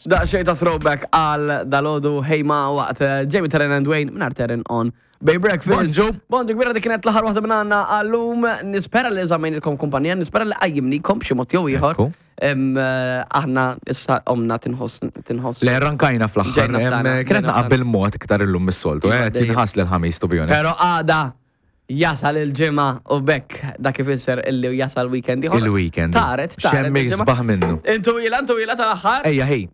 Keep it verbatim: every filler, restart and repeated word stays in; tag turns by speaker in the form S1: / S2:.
S1: Daqsxejn ta' throwback għal dalgħodu ħejma waqt eh, Jamie Terren and Wayne minn Terren on Bay Breakfast.
S2: Bonġu.
S1: Bonġu kbira, dik kienet l-aħħar waħda minn għandna għallum. Nispera li żammejnilkom kumpanija, nispera li qajjimnikom b'xi mod jew ieħor.
S2: Ekku.
S1: Em, eh, Aħna issa omna tinħoss tinħoss.
S2: Le rankajna fl-aħħar.
S1: Ġejna f'tana,
S2: Em, Kienet
S1: ġejna
S2: naqbel mod iktar illum mis-soltu.
S1: Iva,
S2: Eh,
S1: dejjem.
S2: tinħas l-ħamis, to be honest.
S1: Pero għada jasal il-ġimgħa u bekk dak ifisser illi jasal weekend ieħor.
S2: Il-weekend.
S1: Taret, taret.
S2: Xemmi
S1: il-ġimgħa.
S2: sbaħ minnu.
S1: Intu ila, intu ila tal-aħħar.
S2: Ejja, ħej.